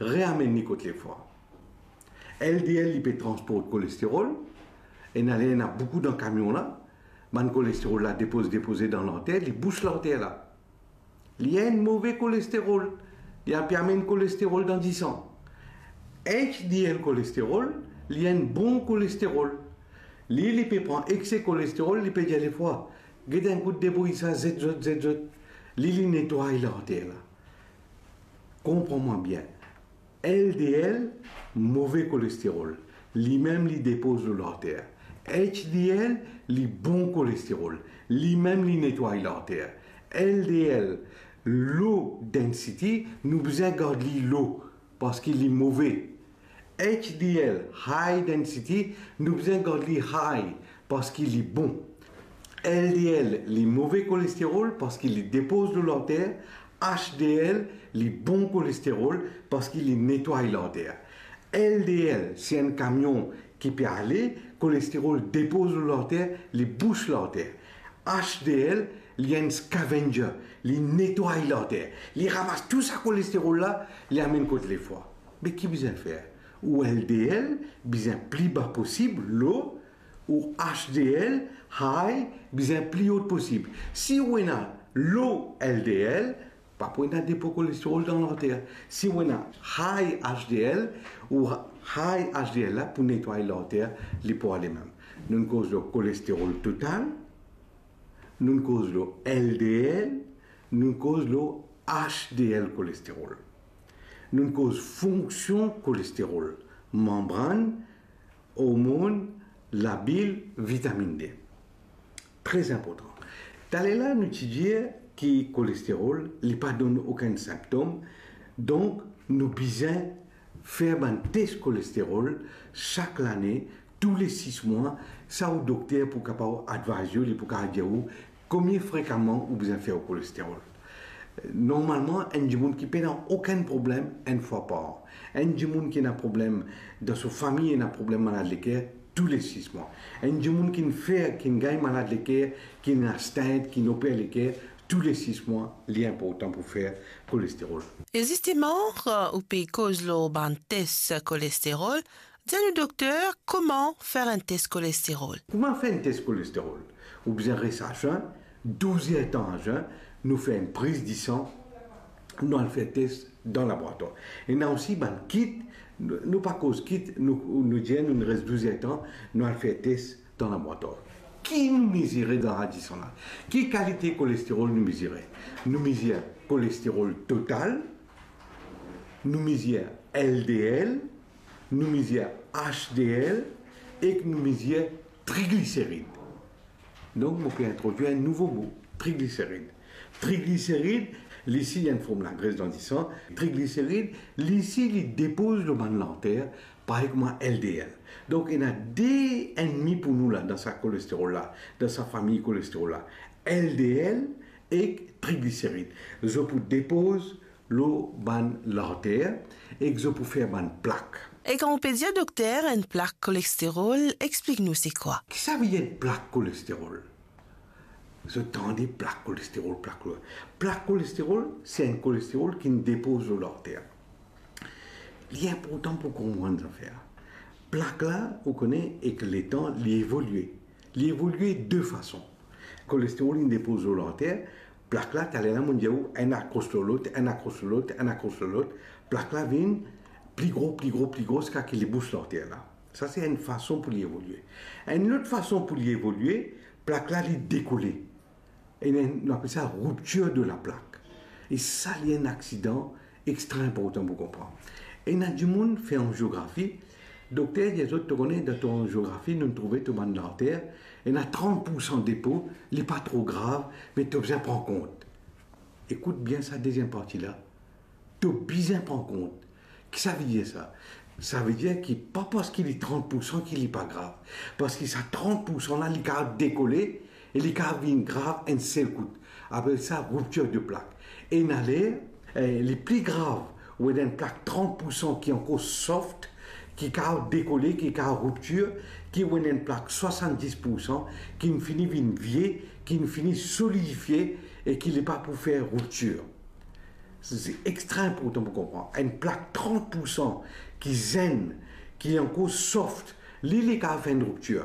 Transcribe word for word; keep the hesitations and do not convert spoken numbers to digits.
reamenn li kot lefwa. L D L, li pe transport kolesterol, ena ler ena boukou dan kamion la, bann kolesterol la depoz, depoze dan larter, li bous larter la. Li enn move kolesterol, li pe amenn kolesterol dan disan. H D L kolesterol, li enn bon kolesterol. Li, li pe pran ekse kolesterol, li pe dir lefwa, "Get enn kout debrouy sa, zet zot, zet zot." Li, li netway larter la. Konpran mwa bien. L D L, move kolesterol, limem li depoz lor larter. H D L, li bon kolesterol, limem li netway larter. L D L, low density, nou bizin gard li low, parski li move. H D L, high density, nou bizin gard li high, parski li bon. L D L, li move kolesterol, parski li depoz lor larter. H D L, li bon kolesterol, parski li netway larter. L D L, si enn kamion ki pe ale, kolesterol depoz lor larter, li bous larter. H D L, li enn scavenger, li netway larter. Li ramas tou sa kolesterol la, li amenn kot lefwa. Me ki bizin fer? Ou L D L bizin pli ba posib, low, ou H D L, high, bizin pli o posib. Si ou ena low L D L, pa pou ena depo kolesterol dan larter. Si ou ena high H D L, ou high H D L la pou netway larter, li pou ale mem. Nou'nn koz lor kolesterol total, nou'nn koz lor L D L, nou'nn koz lor H D L kolesterol. Nou'nn koz fonksion kolesterol, manbrann, ormonn, labil, vitaminn D. Tre inportan. Taler la, nou ti dir ki kolesterol, li pa donn okenn sinptom, donk nou bizin fer bann tes kolesterol sak lane, toule sis mwa, sa ou dokter pou kapav advise ou, li pou kapav dir ou komie frekaman ou bizin fer ou kolesterol. Normalman, enn dimoun ki pena okenn problem, enn fwa par an. Enn dimoun ki ena problem dan so fami, ena problem malad leker, toule sis mwa. Enn dimoun ki'nn fer, ki'nn gagn malad leker, ki'nn ena stent, ki'nn oper leker, toule sis mwa, li inportan pou fer kolesterol. E zisteman, ou pe koz lor bann tes kolesterol, dir nou dokter, kouma fer enn tes kolesterol? Kouma fer enn tes kolesterol? Ou bizin res a zin, douz er tan a zin, nou fer enn priz disan, nou al fer tes dan laboratwar. Ena osi bann kit, nou, nou pa koz kit, nou, nou dir nou res douz er tan, nou al fer tes dan laboratwar. Ki nou mezire dan sa disan la? Ki kalite kolesterol nou mezire? Nou mezir kolesterol total, nou mezir L D L, nou mezir H D L ek nou mezir trigliserid. Donk, mo pe introdwir enn nouvo mo, trigliserid. Trigliserid, li si li enn form lagres dan disan. Trigliserid, li si li depoz lor bann larter, parey kouma L D L. Donk, ena de ennmi pou nou la, dan sa kolesterol la, dan sa fami kolesterol la. L D L ek trigliserid. Zot pou depoz lor bann larter ek zot pou fer bann plak. E kan ou pe dir dokter enn plak kolesterol, explik nou se kwa? Ki savedir enn plak kolesterol? Zot tande plak kolesterol, plak kolesterol. Plak kolesterol, se enn kolesterol ki'nn depoz lor larter. Li inportan pou konpran zafer. Plak la, ou kone, ek letan, li evolie. Li evolie de fason. Kolesterol, li depoz lor larter, plak la, taler la, mo'nn dir ou, enn akros lor lot, enn akros lor lot, enn akros lor lot, plak la vinn pli gro, pli gro, pli gro, ziska ki li bous larter la. Sa se enn fason pou li evolie. Enn lot fason pou li evolie, plak la, li dekole. E nou, nou apel sa rupture de la plaque. E sa, li enn aksidan extra inportan pou konpran. Ena dimoun fer angiografi, dokter dir zot, to kone, dan to angiografi, nou trouve to bann larter, ena trant poursan depo, li pa tro grav, me to bizin pran kont. Ekout bien sa deziem parti la. To bizin pran kont. Ki savedir sa? Savedir ki pa parski li trant poursan ki li pa grav. Parski sa trant poursan la, li kapav dekole e li kapav vinn grav enn sel kout. Apel sa rupture de plaque. Ena ler, eh, li pli grav, ou ena enn plak trant poursan ki ankor soft, ki kapav dekole, ki kapav rupture, ki ou ena enn plak swasanndis poursan, ki'nn fini vinn vie, ki'nn fini solidifie e ki li pa pou fer rupture. Se extra inportan pou konpran. Enn plak trant pour san ki zenn, ki ankor soft, li, li kapav fer enn riptir.